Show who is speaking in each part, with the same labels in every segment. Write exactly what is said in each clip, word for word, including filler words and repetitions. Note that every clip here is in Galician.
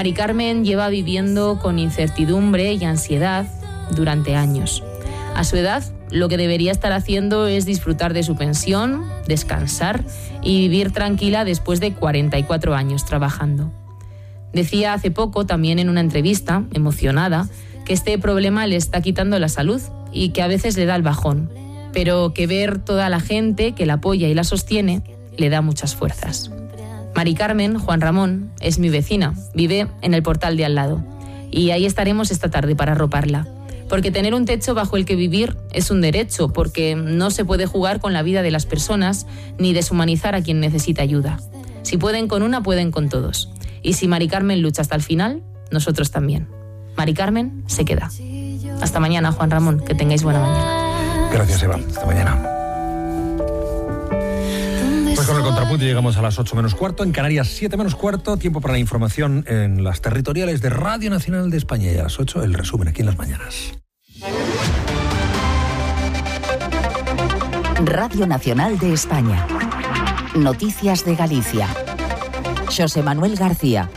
Speaker 1: Mari Carmen lleva viviendo con incertidumbre y ansiedad durante años. A su edad, lo que debería estar haciendo es disfrutar de su pensión, descansar y vivir tranquila después de cuarenta y cuatro años trabajando. Decía hace poco, también en una entrevista, emocionada, que este problema le está quitando la salud y que a veces le da el bajón, pero que ver toda la gente que la apoya y la sostiene le da muchas fuerzas. Mari Carmen, Juan Ramón, es mi vecina, vive en el portal de al lado y ahí estaremos esta tarde para arroparla. Porque tener un techo bajo el que vivir es un derecho, porque no se puede jugar con la vida de las personas ni deshumanizar a quien necesita ayuda. Si pueden con una, pueden con todos. Y si Mari Carmen lucha hasta el final, nosotros también. Mari Carmen se queda. Hasta mañana, Juan Ramón, que tengáis buena mañana.
Speaker 2: Gracias, Eva. Hasta mañana. Pues con el contrapunto llegamos a las ocho menos cuarto, en Canarias siete menos cuarto, tiempo para la información en las territoriales de Radio Nacional de España, y a las ocho el resumen aquí en Las Mañanas.
Speaker 3: Radio Nacional de España. Noticias de Galicia. Xosé Manuel García.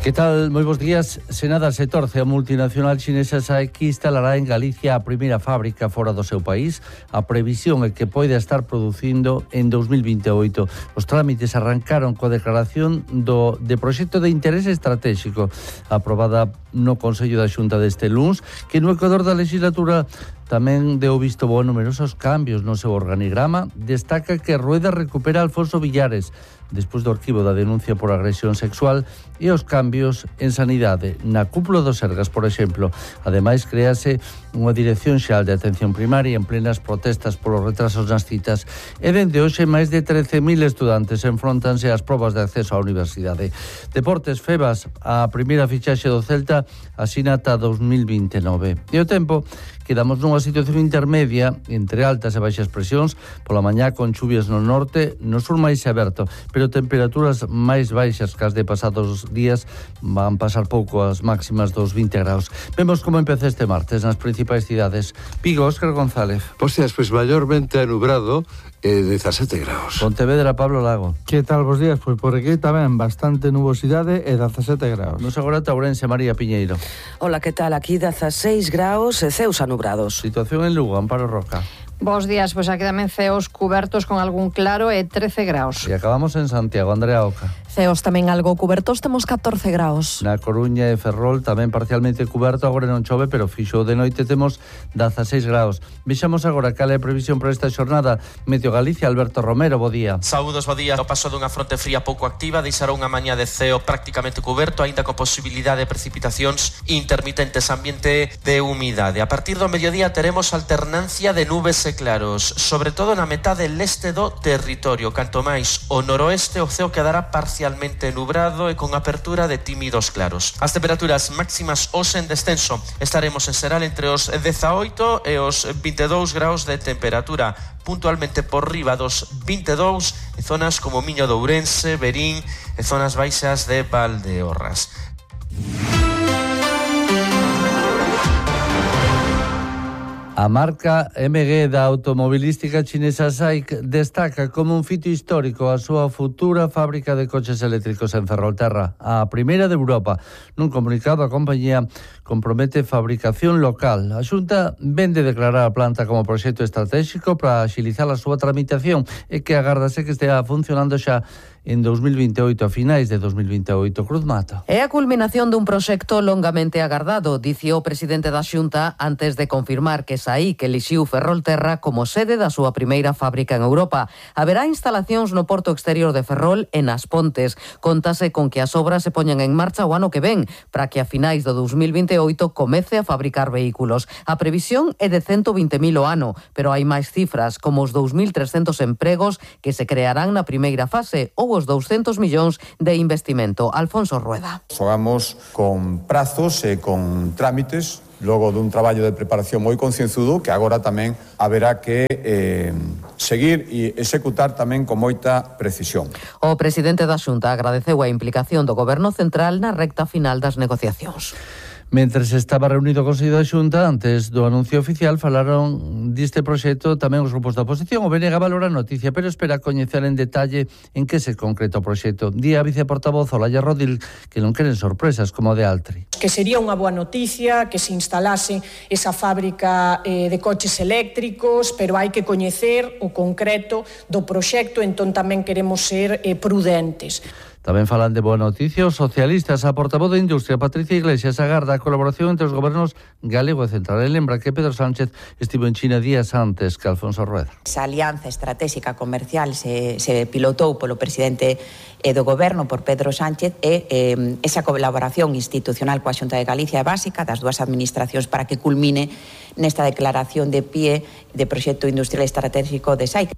Speaker 4: Que tal? Moi bons días. Se nada se torce, a multinacional chinesa Saeki instalará en Galicia a primeira fábrica fora do seu país. A previsión é que poida estar producindo en dos mil vinte e oito. Os trámites arrancaron coa declaración do de proxecto de interese estratégico aprobada no Consello da Xunta deste luns, que no Ecuador da legislatura tamén deu visto bo a numerosos cambios no seu organigrama. Destaca que Rueda recupera a Alfonso Villares despois do arquivo da denuncia por agresión sexual e os cambios en sanidade. Na cúpula do Sergas, por exemplo, ademais créase unha dirección xeral de atención primaria en plenas protestas polos retrasos nas citas, e dende hoxe máis de trece mil estudantes enfrontanse ás probas de acceso á universidade. Deportes, Febas, a primeira fichaxe do Celta asina ata dos mil vinte e nove. E o tempo, quedamos nunha situación intermedia entre altas e baixas presións, pola mañá con chuvias no norte, no sur máis aberto, pero temperaturas máis baixas que as de pasados días, van pasar pouco as máximas dos vinte graus. Vemos como empeza este martes nas principais cidades. Vigo, Óscar González.
Speaker 5: Hostias, pues mayormente nublado, eh, dezasete graus.
Speaker 4: Pontevedra, Pablo Lago.
Speaker 6: Que tal vos días? Pois por aquí tamén bastante nubosidade e dezasete graus.
Speaker 4: Nos agora Ourense, María Piñeiro.
Speaker 7: Hola, que tal? Aquí dezaseis graus e ceus anubrados.
Speaker 4: Situación en Lugo, Amparo Roca.
Speaker 8: Bos días, pois aquí tamén ceos cubertos con algún claro e trece graus.
Speaker 4: E acabamos en Santiago, Andrea Oca.
Speaker 9: Ceos tamén algo cubertos, temos catorce graus.
Speaker 4: Na Coruña e Ferrol tamén parcialmente cuberto, agora non chove, pero fixo de noite temos dezaseis graus. Vexamos agora cal é a previsión para esta xornada. Meteo Galicia, Alberto Romero, bo día.
Speaker 10: Saúdos, bo día. O paso dunha fronte fría pouco activa deixará unha mañá de ceo prácticamente cuberto, aínda con posibilidade de precipitacións intermitentes, ambiente de humidade. A partir do mediodía teremos alternancia de nubes e claros, sobre todo na metade leste do territorio. Canto máis o noroeste, o ceo quedará parcialmente nubrado e con apertura de tímidos claros. As temperaturas máximas hoxe en descenso. Estaremos en xeral entre os dezaoito e os vinte e dous graus de temperatura, puntualmente por riba dos vinte e dous en zonas como Miño de Ourense, Verín e zonas baixas de Valdeorras.
Speaker 4: A marca M G da automobilística chinesa SAIC destaca como un fito histórico a súa futura fábrica de coches eléctricos en Ferrolterra, a primeira de Europa. Nun comunicado, a compañía compromete fabricación local. A Xunta vende declarar a planta como proxecto estratégico para axilizar a súa tramitación e que agardase que estea funcionando xa en dos mil vinte e oito, a finais de dos mil vinte e oito. Cruz Mato.
Speaker 11: É a culminación dun proxecto longamente agardado, dicio o presidente da Xunta antes de confirmar que SAIC elixiu Ferrolterra como sede da súa primeira fábrica en Europa. Haberá instalacións no porto exterior de Ferrol e nas Pontes. Contase con que as obras se poñan en marcha o ano que ven, para que a finais do dos mil vinte e oito comece a fabricar vehículos. A previsión é de cento vinte mil o ano, pero hai máis cifras, como os dous mil trescentos empregos que se crearán na primeira fase ou os doscientos millóns de investimento. Alfonso Rueda.
Speaker 12: Fogamos con prazos e con trámites, logo dun traballo de preparación moi concienzudo que agora tamén haberá que eh, seguir e executar tamén con moita precisión.
Speaker 11: O presidente da Xunta agradeceu a implicación do Goberno Central na recta final das negociacións.
Speaker 4: Mentres estaba reunido o Consello da Xunta, antes do anuncio oficial, falaron deste proxecto tamén os grupos da oposición. O B N G valora a noticia, pero espera coñecer en detalle en que se concreta o proxecto. Di a viceportavoz Olaya Rodil que non queren sorpresas como a de Altri.
Speaker 13: Que sería unha boa noticia que se instalase esa fábrica eh, de coches eléctricos, pero hai que coñecer o concreto do proxecto, entón tamén queremos ser eh, prudentes.
Speaker 4: Tamén falan de boa noticia os socialistas. A portavoz de Industria, Patricia Iglesias, agarda a colaboración entre os gobernos galego e central. E lembra que Pedro Sánchez estivo en China días antes que Alfonso Rueda.
Speaker 14: Esa alianza estratégica comercial se, se pilotou polo presidente do goberno, por Pedro Sánchez, e eh, esa colaboración institucional coa Xunta de Galicia é básica das dúas administracións para que culmine nesta declaración de pie de proxecto industrial estratégico de S A I.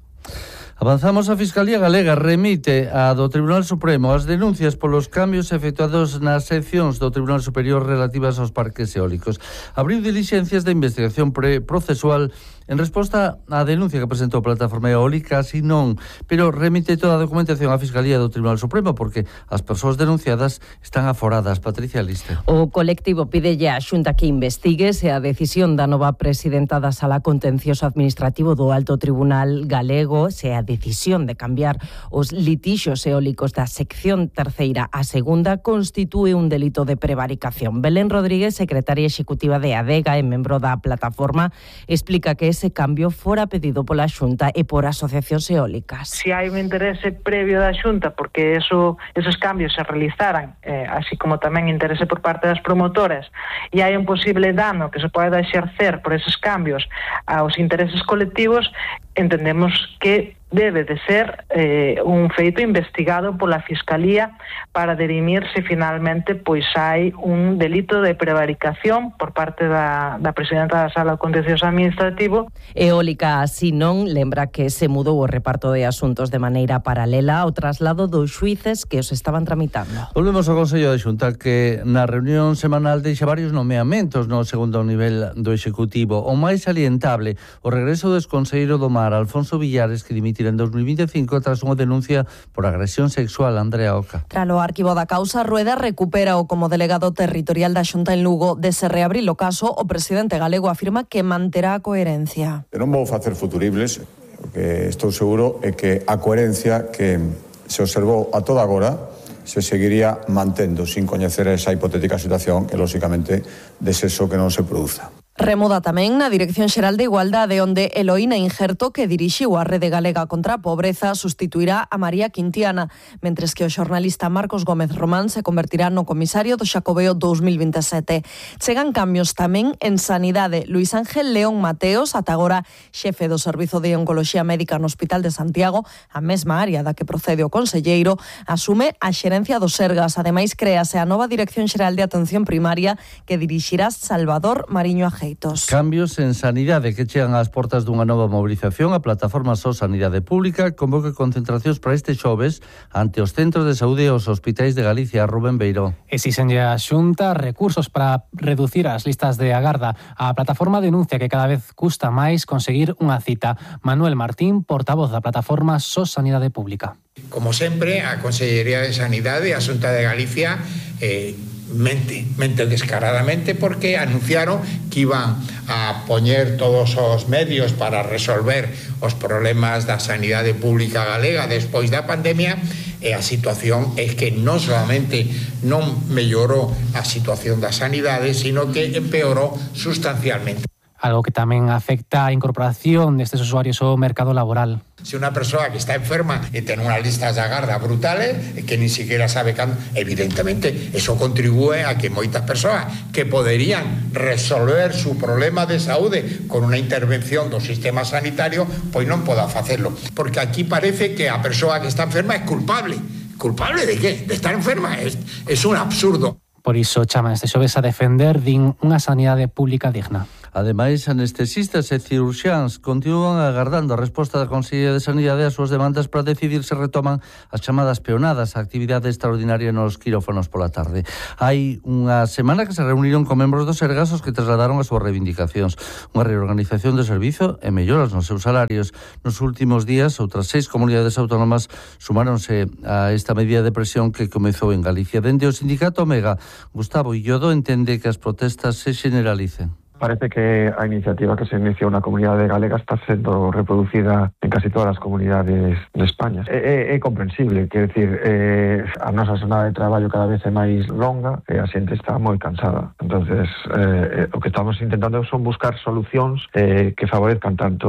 Speaker 4: Avanzamos. A Fiscalía Galega remite a do Tribunal Supremo as denuncias polos cambios efectuados nas seccións do Tribunal Superior relativas aos parques eólicos. Abriu dilixencias de investigación procesual en resposta á denuncia que presentou a Plataforma Eólica, así non, pero remite toda a documentación á Fiscalía do Tribunal Supremo porque as persoas denunciadas están aforadas. Patricia Liste.
Speaker 15: O colectivo pidelle á Xunta que investigue se a decisión da nova presidenta da Sala Contencioso Administrativo do Alto Tribunal Galego, se a decisión de cambiar os litixos eólicos da sección terceira a segunda constitúe un delito de prevaricación. Belén Rodríguez, secretaria executiva de ADEGA e membro da plataforma, explica que ese cambio fora pedido pola Xunta e por asociacións eólicas.
Speaker 16: Si hai un interese previo da Xunta porque eso, esos cambios se realizaran, eh, así como tamén interese por parte das promotoras, e hai un posible dano que se poida exercer por esos cambios aos intereses colectivos, entendemos que debe de ser eh, un feito investigado pola Fiscalía para derimir se finalmente pois hai un delito de prevaricación por parte da, da presidenta da Sala Contencioso Administrativo.
Speaker 15: Eólica así non lembra que se mudou o reparto de asuntos de maneira paralela ao traslado dos xuíces que os estaban tramitando.
Speaker 4: Volvemos ao Consello de Xunta, que na reunión semanal deixa varios nomeamentos no segundo nivel do Executivo. O máis salientable, o regreso do exconselleiro do Mar, Alfonso Villares, que dimitirá en dos mil veinticinco tras unha denuncia por agresión sexual. Andrea Oca.
Speaker 9: Tralo arquivo da causa, Rueda recupera o como delegado territorial da Xunta en Lugo. De se reabrir o caso, o presidente galego afirma que manterá a coherencia.
Speaker 12: Eu non vou facer futuribles, o que estou seguro é que a coherencia que se observou a toda agora se seguiría mantendo sin coñecer esa hipotética situación e, lóxicamente, desexo que non se produza.
Speaker 9: Remuda tamén na Dirección Xeral de Igualdade, onde Eloína Injerto, que dirixiu a Rede Galega contra a Pobreza, sustituirá a María Quintiana, mentres que o xornalista Marcos Gómez Román se convertirá no comisario do Xacobeo dous mil veintesete. Chegan cambios tamén en Sanidade. Luís Ángel León Mateos, ata agora xefe do Servizo de Oncoloxía Médica no Hospital de Santiago, a mesma área da que procede o conselleiro, asume a xerencia do Sergas. Ademais, créase a nova Dirección Xeral de Atención Primaria que dirixirá Salvador Mariño Ajeitos.
Speaker 4: Cambios en Sanidade que chegan ás portas dunha nova mobilización. A plataforma S O Sanidade Pública convoca concentracións para este xoves ante os centros de saúde e os hospitais de Galicia. Rubén Beiró.
Speaker 17: Exixenlle a Xunta recursos para reducir as listas de agarda. A plataforma denuncia que cada vez custa máis conseguir unha cita. Manuel Martín, portavoz da plataforma S O Sanidade Pública.
Speaker 18: Como sempre, a Consellería de Sanidade e a Xunta de Galicia eh, mente, mente descaradamente porque anunciaron que iban a poñer todos os medios para resolver os problemas da sanidade pública galega despois da pandemia, e a situación é que non solamente non mellorou a situación da sanidade, sino que empeorou sustancialmente.
Speaker 17: Algo que tamén afecta a incorporación destes usuarios ao mercado laboral.
Speaker 18: Se unha persoa que está enferma e ten unhas listas de agarda brutales e que ni siquiera sabe cando, evidentemente, eso contribúe a que moitas persoas que poderían resolver su problema de saúde con unha intervención do sistema sanitario, pois non poda facelo. Porque aquí parece que a persoa que está enferma é culpable. ¿Culpable de qué? De estar enferma. Es, es un absurdo.
Speaker 17: Por iso chaman este xoves a defender din unha sanidade pública digna.
Speaker 4: Ademais, anestesistas e cirurxiáns continúan agardando a resposta da Consellería de Sanidade ás súas demandas para decidir se retoman as chamadas peonadas, a actividade extraordinaria nos quirófanos pola tarde. Hai unha semana que se reuniron con membros dos Sergas os que trasladaron as súas reivindicacións, unha reorganización do servizo e melloras nos seus salarios. Nos últimos días, outras seis comunidades autónomas sumáronse a esta medida de presión que comezou en Galicia. Dende o sindicato Omega, Gustavo Illodo entende que as protestas se generalicen.
Speaker 19: Parece que a iniciativa que se inició na comunidade galega está sendo reproducida en casi todas as comunidades de España. É, é, é comprensible, quer decir, eh, a nosa jornada de traballo cada vez é máis longa e a xente está moi cansada. Entonces, eh, o que estamos intentando son buscar solucións eh, que favorezcan tanto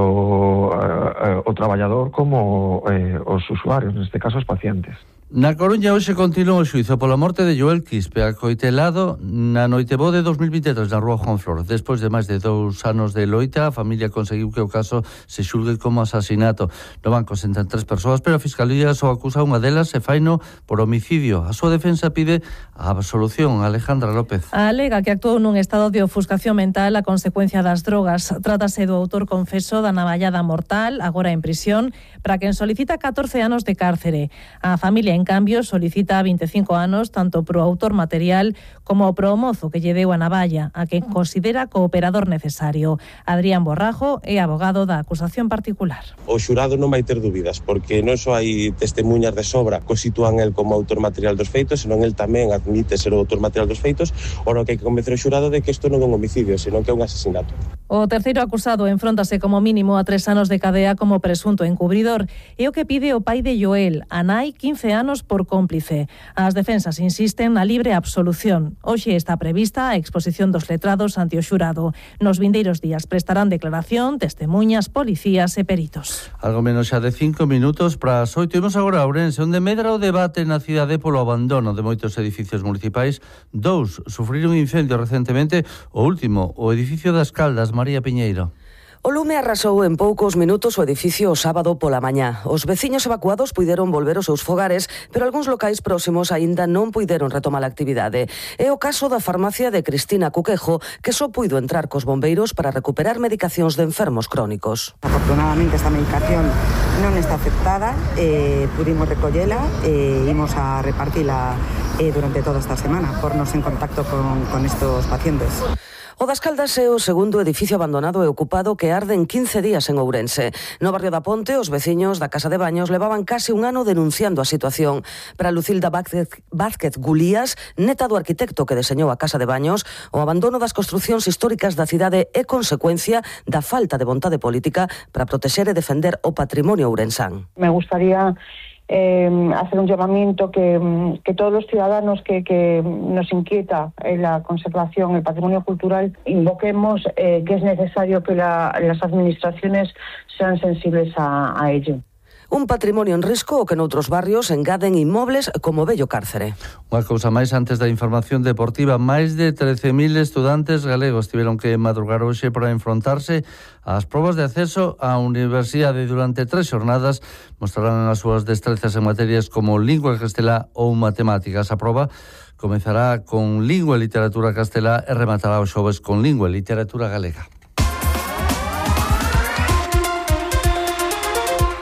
Speaker 19: eh, o traballador como eh, os usuarios, neste caso os pacientes.
Speaker 4: Na Coruña hoxe continúa o xuízo pola morte de Joel Quispe, acoitelado na Noitebo de dos mil veintitrés na Rúa Juan Flor. Despois de máis de dous anos de loita, a familia conseguiu que o caso se xulgue como asasinato. No banco sentan tres persoas, pero a Fiscalía só acusa unha delas e faino por homicidio. A súa defensa pide a absolución. Alejandra López.
Speaker 20: Alega que actuou nun estado de ofuscación mental a consecuencia das drogas. Trátase do autor confeso da navallada mortal, agora en prisión, para quen solicita catorce anos de cárcere. A familia, en cambio, solicita veinticinco anos tanto pro autor material como pro mozo que lle deu a navalla, a quen considera cooperador necesario. Adrián Borrajo é abogado da acusación particular.
Speaker 21: O xurado non vai ter dúbidas, porque non só hai testemunhas de sobra que o sitúan el como autor material dos feitos, senón el tamén admite ser o autor material dos feitos, ora que hai que convencer o xurado de que isto non é un homicidio, senón que é un asesinato.
Speaker 20: O terceiro acusado enfróntase como mínimo a tres anos de cadea como presunto encubridor. É o que pide o pai de Joel, a nai, quince anos por cómplice. As defensas insisten na libre absolución. Hoxe está prevista a exposición dos letrados ante o xurado. Nos vindeiros días prestarán declaración testemuñas, policías e peritos.
Speaker 4: Algo menos xa de cinco minutos para as oito. Imos agora a Ourense, onde medra o debate na cidade polo abandono de moitos edificios municipais. Dous sufriron incendio recentemente, o último, o edificio das Caldas, María Piñeiro.
Speaker 7: O lume arrasou en poucos minutos o edificio o sábado pola mañá. Os veciños evacuados puideron volver aos seus fogares, pero algúns locais próximos aínda non puideron retomar a actividade. É o caso da farmacia de Cristina Cuquejo, que só puido entrar cos bombeiros para recuperar medicacións de enfermos crónicos.
Speaker 22: Afortunadamente esta medicación non está aceptada, eh, pudimos recollela e eh, imos a repartila eh, durante toda esta semana, pornos en contacto con, con estos pacientes.
Speaker 7: O das Caldas é o segundo edificio abandonado e ocupado que arde en quince días en Ourense. No barrio da Ponte, os veciños da Casa de Baños levaban case un ano denunciando a situación. Para Lucilda Vázquez, Vázquez Gulías, neta do arquitecto que deseñou a Casa de Baños, o abandono das construcións históricas da cidade é consecuencia da falta de vontade política para protexer e defender o patrimonio ourensán.
Speaker 23: Me gustaría Eh, hacer un llamamiento que, que todos los ciudadanos que, que nos inquieta en la conservación, el patrimonio cultural, invoquemos eh, que es necesario que la, las administraciones sean sensibles a, a ello.
Speaker 7: Un patrimonio en risco o que noutros barrios engaden inmobles como Bello Cárcere.
Speaker 4: Unha cousa máis antes da información deportiva. Máis de trece mil estudantes galegos tiveron que madrugar hoxe para enfrontarse ás probas de acceso á universidade. Durante tres xornadas mostrarán as súas destrezas en materias como lingua castelá ou matemáticas. A proba comezará con lingua e literatura castelá e rematará os xoves con lingua e literatura galega.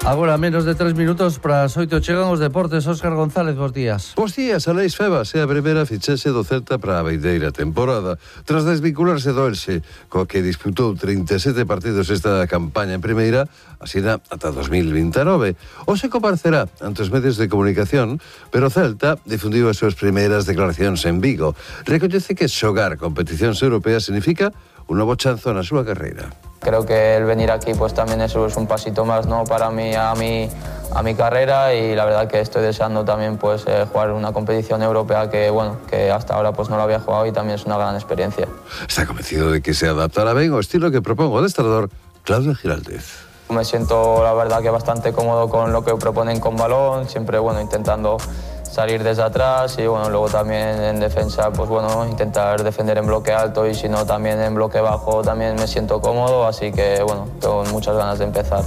Speaker 4: Agora, menos de tres minutos para as oito chegan os deportes. Óscar González, bons días.
Speaker 5: Bons días, Aleix Febas é a primeira fichaxe do Celta para a vindeira temporada. Tras desvincularse do Elxe, coa que disputou trinta e sete partidos esta campaña en primeira, asina ata dos mil vinte e nove. Hoxe comparecerá ante os medios de comunicación, pero o Celta difundiu as súas primeiras declaracións en Vigo. Recoñece que xogar competicións europeas significa un novo chanzo na súa carreira.
Speaker 24: Creo que el venir aquí pues también eso es un pasito más, ¿no? Para mí, a mi, a mi carrera, y la verdad que estoy deseando también pues eh, jugar una competición europea que bueno que hasta ahora pues no lo había jugado y también es una gran experiencia.
Speaker 5: Está convencido de que se adaptará ben ao estilo que propongo o adestrador Claudio Giraldez.
Speaker 24: Me siento la verdad que bastante cómodo con lo que proponen con balón, siempre bueno intentando salir desde atrás y bueno, luego también en defensa, pues bueno, intentar defender en bloque alto y si no también en bloque bajo también me siento cómodo, así que bueno, tengo muchas ganas de empezar.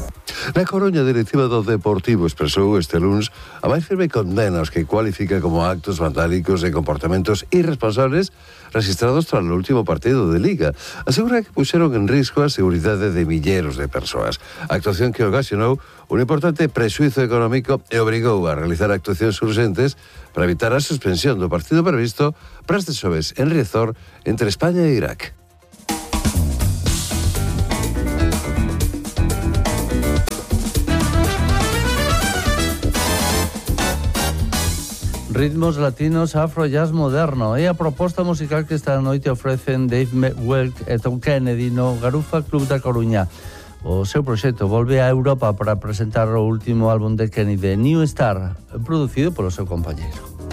Speaker 5: Na Coruña, a directiva do Deportivo expresou este luns a máis firme condena aos que cualifica como actos vandálicos e comportamentos irresponsables registrados tras o último partido de Liga. Asegura que puxeron en risco a seguridade de milleros de persoas. A actuación que ocasionou un importante prexuizo económico e obrigou a realizar actuacións urgentes para evitar a suspensión do partido previsto para este xoves en Riazor entre España e Irak.
Speaker 4: Ritmos latinos, afro, jazz moderno. É a proposta musical que esta noite ofrecen Dave Welk e Tom Kennedy no Garufa Club da Coruña. O seu proxecto volve a Europa para presentar o último álbum de Kennedy, New Star, producido polo seu compañeiro.